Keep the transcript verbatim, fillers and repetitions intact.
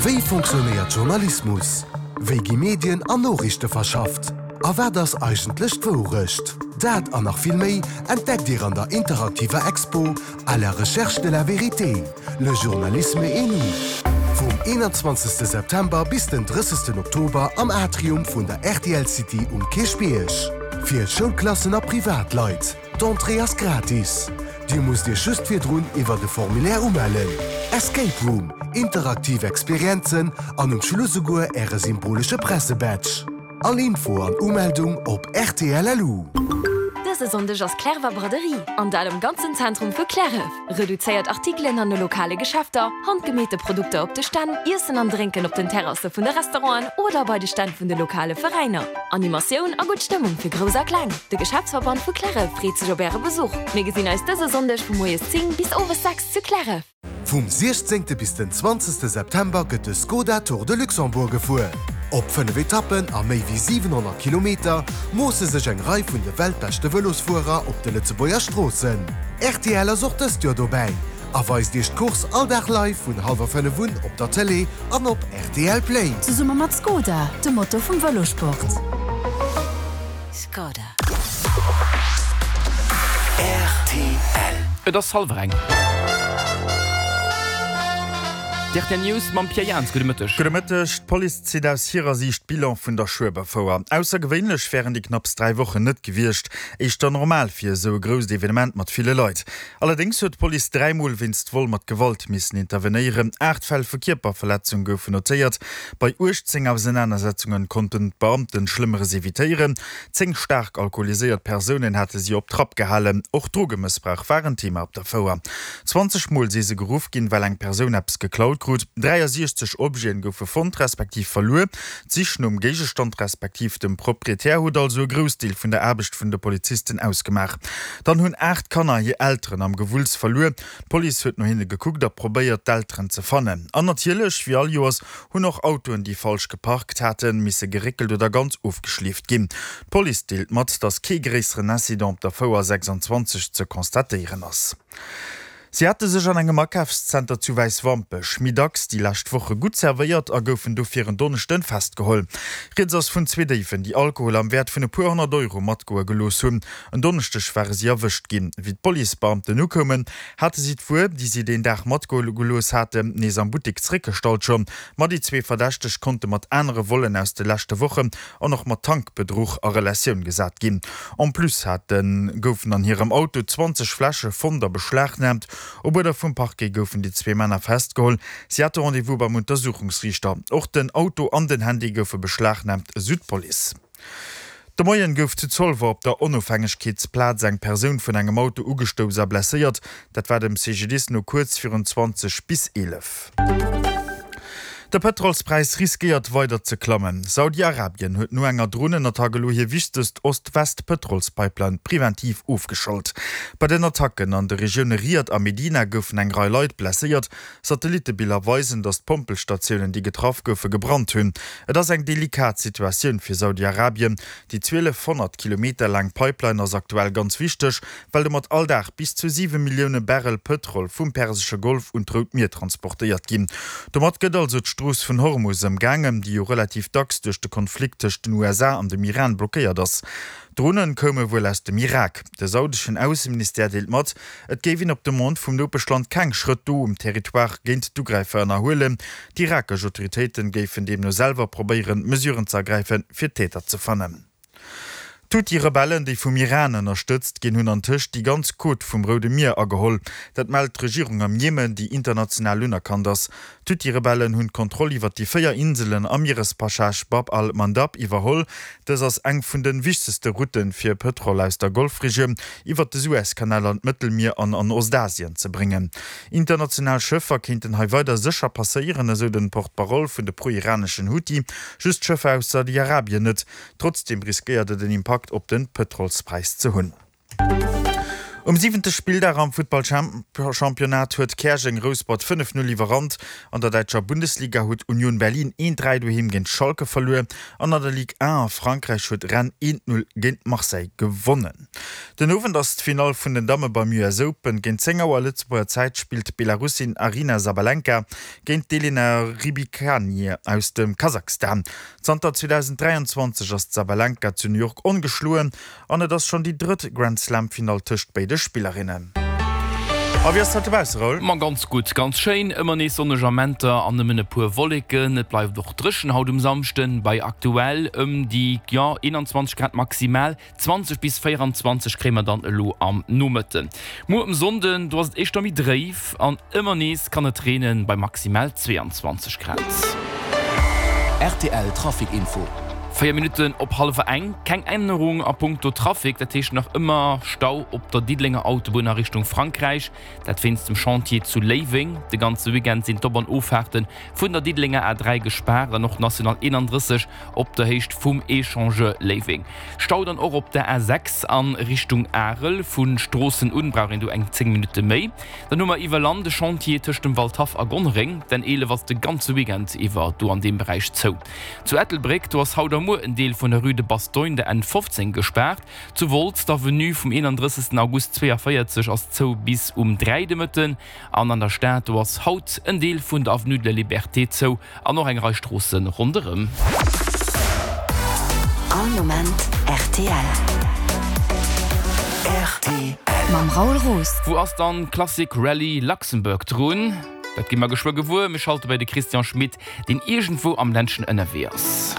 Wéi fonctionnéiert Journalismus? Wéi gi Medien an Noriichte verschafft? A wat ass eigentlech d'Wourecht? Dat an nach vill méi entdeckt Dir an der interaktiver Expo À la recherche de la vérité, le journalisme et nous. Vum eenanzwanzegste September bis den drëssegsten Oktober am Atrium vun der rtl City um Kierchbierg. Fir Schoulklassen a Privatleit. D'Entrée ass gratis. Dir musst Iech just virdrun iwwer de Formulaire umellen. Escape Room, interaktiv Experienzen an um Schluss souguer Äre symbolesche Pressebadge. All Info an Umeldung op rtl.lu. Dëse Sonndeg ass Clerwer Braderie an dat am ganzen Zentrum vu Cliärref. Reduzéiert Artikelen an de lokale Geschäfter, handgemeete Produkter op de Stänn, Iessen an Drénken op den Terrasse vun de Restauranten oder bei de Stänn vun de lokale Veräiner. Animatioun a gutt Stëmmung fir Grouss a Kleng. De Geschäftsverband vu Cliärref freet sech op Äre Besuch. Mir gesinn eis dëse Sonndeg vu moies zéng bis owes sechs zu Cliärref. Vum siechzéngte bis den zwanzegste September gëtt de Skoda Tour de Luxembourg gefuer. Op fënnef Etappen a méi wéi siwenhonnert Kilometer moosse sech eng Rei vun de weltbeschte Vëlosfuerer op de Lëtzebuerger Stroossen. Rtl ass och dëst Joer dobäi a weist Iech d'Course all Dag live vun hallwer fënnef un op der Tëlee an op rtl Play. Zesumme mat Skoda, dem Motor vum Vëlosport. Skoda. Rtl. Et ass hallwer eng. D'rtl News mam Pierre Jans. Gudde Mëtteg. Gudde Mëtteg. D'Police zitt aus hirer Siicht Bilan vun der Schueberfouer. Aussergewéinlech wären déi knapps dräi Wochen net gewiescht, éischter normal fir esou e grousst Evenement mat ville Leit. Allerdéngs huet d'Police dräi Mol wéinst Vol mat Gewalt missen intervenéieren. Aacht Fäll vu Kierperverletzung goufen notéiert. Bei uechtzéng Ausenanersetzunge konnten d'Beamten Schlëmmeres evitéieren. Zéng staark alkoholiséiert Persounen hate si op Trapp gehalen. Och Drogemëssbrauch war en Thema op der Fouer. Zwanzeg Mol si se geruff ginn, well eng Persoun eppes geklaut krut. dräiasiechzeg Objeten goufe fonnt respektiv verluer. D'Sich nom Géigestand respektiv dem Proprietär huet also e Groussdeel vun der Aarbecht vun de Polizisten ausgemaach. Dann hunn aacht Kanner hir Elteren am Gewulls verluer. D'Police huet no hinne gekuckt a probéiert, d'Elteren ze fannen. An natierlech, wéi all Joers, hunn och Autoen, déi falsch geparkt haten, misse geréckelt oder ganz ofgeschleeft ginn. D'Police deelt mat, datt kee gréisseren Incident op der Fouer sechsundzwanzeg ze constatéieren ass. Si hate sech an engem Akafszenter zu Wäiswampech méi dacks déi lescht Woche gutt zerwéiert a goufen dofir en Donneschden festgeholl. Rieds ass vun zwee Déiwen, déi Alkohol am Wäert vun e puer honnert Euro matgoe gelooss hunn. En Donneschdeg ware si erwëscht ginn. Wéi d'Policebeamten ukoumen, hate si d'Wuer, déi si deen Dag matgoe gelooss haten, nees am Buttek zeréckgestallt schonn. Ma déi zwee Verdächteg konnte mat anere Vollen aus de leschte Wochen an och mat Tankbedruch a Relatioun gesat ginn. En plus hate goufen an hirem Auto zwanzeg Fläsche fonnt a beschlagnaamt. Op Uerder vum Parquet goufen déi zwee Männer festgeholl. Si hate Rendez-vous beim Untersuchungsriichter. Och den Auto an den Handy goufe beschlagnaamt, esou d'Police. De Moien gouf zu Zolwer op der Onofhängegkeetsplaz eng Persoun vun engem Auto ugestouss a blesséiert. Dat war dem C G D I S no kuerz virun zwanzeg bis eelef. De Pëtrolspräis riskéiert weider ze klammen. Saudi-Arabien huet no enger Dronenattack elo hir wichtegst Ost-West-Pëtrolspipeline preventiv ofgeschalt. Bei den Attacken an de Regioune Riad a Medina goufen eng Rei Leit blesséiert. Satellittebiller weisen, datt d'Pompelstatiounen, déi getraff goufen, gebrannt hunn. Et ass eng delikat Situatioun fir Saudi-Arabien. Déi zwielefhonnert Kilometer laang Pipeline ass aktuell ganz wichteg, well domat all Dag bis zu siwe Millioune Barrel Pëtrol vum Persesche Golf un d'Rout Mier transportéiert ginn. Domat gëtt also d'Strooss vun Hormus ëmgaangen, déi jo relativ dacks duerch de Konflikt tëscht den U S A an dem Iran blockéiert ass. D'Dronen koume wuel aus dem Irak. De saudeschen Ausseministère deelt mat, et géif een op Demande vum Nopeschland keng Schrëtt do um Territoire géint d'Ugräifer ënnerhuelen. D'irakesch Autoritéiten géifen deemno selwer probéieren, Mesuren ze ergräifen, fir d'Täter ze fannen. D'Huthi-Rebellen, déi vum Iran ënnerstëtzt ginn, hunn antëscht déi ganz Côte vum Roude Mier ageholl. Dat mellt d'Regierung am Jemen, déi international unerkannt ass. D'Huthi-Rebellen hunn d'Kontroll iwwer déi véier Inselen am Mierespassage Bab al-Mandab iwwerholl. Dës ass eng vun de wichtegste Route fir Pëtrol aus der Golfregioun iwwer de Suezkanal an d'Mëttelmier an an Ostasien ze bréngen. International Schëffer kéinten hei weider sécher passéieren, esou de Porte-parole vun de pro-iraneschen Huthi. Just Schëffer aus Saudi-Arabien net. Trotzdeem riskéiert et en Impakt op de Pëtrolspräis ze hunn. Um siwente Spilldag am Futtballchampionnat huet Käerjeng Rouspert fënnef Null iwwerrannt. An der däitscher Bundesliga huet Union Berlin eent dräi doheem géint Schalke verluer an an der Ligue un a Frankräich huet Rennes eent Null géint Marseille gewonnen. Den Owend ass d'Finall vun den Damme beim U S Open. Géint zéng Auer Lëtzebuerger Zäit spillt d'Belarussin Aryna Sabalenka géint d'Elena Rybakina aus dem Kasachstan. Zanter zweedausenddräianzwanzeg ass d'Sabalenka zu New York ongeschloen an et ass schonn déi drëtt Grand-Slam-Finall tëscht béide Spillerinnen. A wéi ass dat dobausse, Raoul? Ma ganz gutt, ganz schéin, ëmmer nees sonneg Amenter an nëmmen e puer Wolleken. Et bleift och dréchen haut um Samschden, bei aktuell ëm déi, jo, eenanzwanzeg Grad maximal. Zwanzeg bis véieranzwanzeg kréie mer dann elo am Nomëtten. Muer um Sonnden, do ass et éischter méi dréif an ëmmer nees kann et reenen, bei maximal zweeanzwanzeg Grad. Rtl Trafic Info. Véier Minutten op hallwer eng, keng Ännerung a punkto Trafic, dat heescht nach ëmmer Stau op der Diddelenger Autobunn a Richtung Frankräich, dat wéinst dem Chantier zu Léiweng. De ganze Weekend sinn d'Op an Offahrte vun der Diddelenger A dräi gespaart an och d'National eenanddrësseg op der Héicht vum Echangeur Léiweng. Stau dann och op der A sechs a Richtung Arel, vu Stroossen un brauch een do eng zéng Minutte méi. Dann hu mer iwwer Land e Chantier tëscht dem Waldhaff a Gonnereng, d'N eelef ass de ganze Weekend iwwer do an deem Beräich zou. Zu Ettelbréck, do ass haut a muer en Deel vun der Rue de Bastogne, der N fofzéng, gespaart. Zu Wolz, d'Avenue vum eenanddrëssegsten August zweeënvéierzeg ass zou bis um dräi de Mëtten. An an der Stad, do ass haut en Deel vun der Avenue de la Liberté zou an och eng Rei Stroosse ronderëm. All Moment rtl. Rtl. Mam Raoul Roos. Wou ass dann d'Classic Rallye Luxembourg drun? Dat gi mer geschwë gewuer. Mir schalte bei de Christian Schmit, deen iergendwou am Ländchen ënnerwee ass.